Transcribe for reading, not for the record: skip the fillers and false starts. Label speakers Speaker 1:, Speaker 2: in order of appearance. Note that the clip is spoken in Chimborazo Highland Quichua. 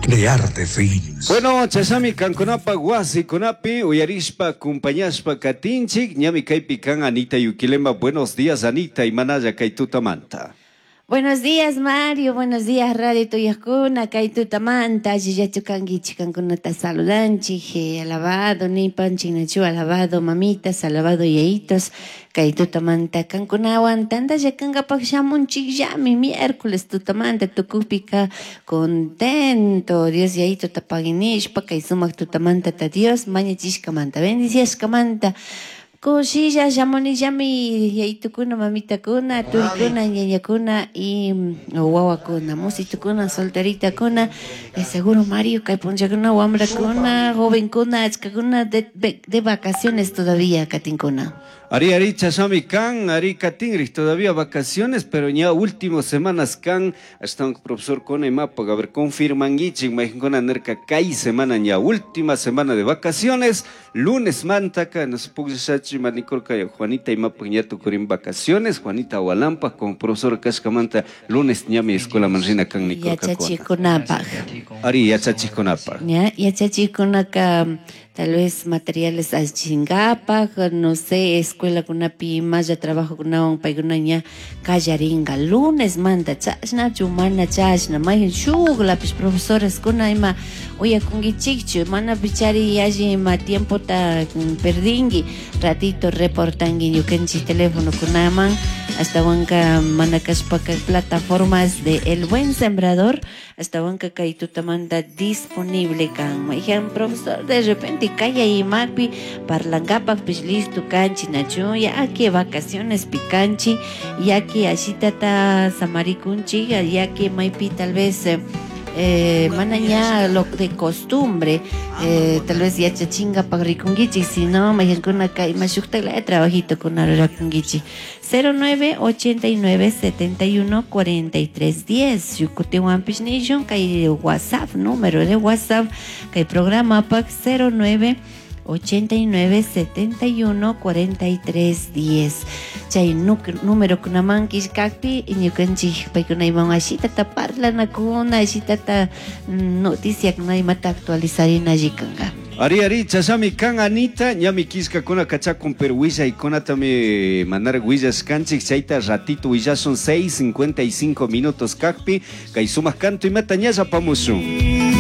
Speaker 1: Crearte Films.
Speaker 2: Bueno, chashami kankunapa wasikunapi uyarishpa acompañashpa katinchik ñami kaypi kan Anita Yuquilema. Buenos días, Anita, imanalla kay tutamanta.
Speaker 3: Buenos días, Mario. Buenos días, Radio Tuyakuna. Kay tutamanta, allillachu kankichik kankunata saludanchik. Alabado, nipanchik nachu, alabado mamitas, alabado yayitos. Kay tutamanta kankunawan tantalla kankapaq shamunchikllami miércoles tutamanta tukupika contento. Dios yayito tapaginishpa kay sumaq tutamanta ta Dios mañachishkamanta bendiciashkamanta. Kushilla shamunillami yayitukuna, mamitakuna, turikuna, ñañakuna y wawakuna, musitukuna, solteritakuna, seguro Mario, kay punchakuna, wamrakuna, jovenkuna, achkakuna de vacaciones todavía katinkuna.
Speaker 2: Ari, ari, chashami kan, ari katinrij, todavía vacaciones, pero ya últimas semanas kan, hasta un profesor con mapa, a ver, confirmanguichik, majinkuna nerka kay semana ya última semana de vacaciones, lunes mantaka, nos pugllachi manikorka Juanita imapa ya tukurin vacaciones, Juanita Walampa con profesor Kashkamanta, lunes ñami escuela manrina kan nikorka.
Speaker 3: Yachachikunapaj.
Speaker 2: Ari, yachachikunapaj.
Speaker 3: Ya, yachachikunaka, tal vez materiales alchingapaj, no sé, escuela kunapi maya trabajo kunawan paykuna ña kallaringa lunes manta chashna chumana chashna mayhan shuklapish profesores kuna ima uyakunkichikchu mana pichari alli ima tiempota perdinki ratito reportanki ñukanchik teléfono kunaman ashtawanka mana kashpaka plataformas de El Buen Sembrador ashtawanka kay tutamanta disponible kan mayhan profesor de repente kaya imapi parlankapakpish listo kanchi nachu ya que vacaciones picanchi ya que ashitata samarikunchi ya que maypi tal vez mana ña lo de costumbre tal vez yachachinkapak rikunkichik sino mayhankunaka ima shuktaklaya trabajito kuna rurakunkichik 09 89 71 43 10 shukutiwanpish nishun kay WhatsApp número de WhatsApp kay programapak 09 89 71 43 10 chay número kunaman killkakpi ñukanchik paykuna imawan ashitata parlanakuna ashitata noticiakuna imata actualizarina allikanka.
Speaker 2: Ari, ari, chashami kan Anita, ñami killkakuna kachakun pero willaykunatami mandar willashkanchik chayta ratito willasun 6:55 minutos kakpi kay sumaq kantu imata ñalla apamushun.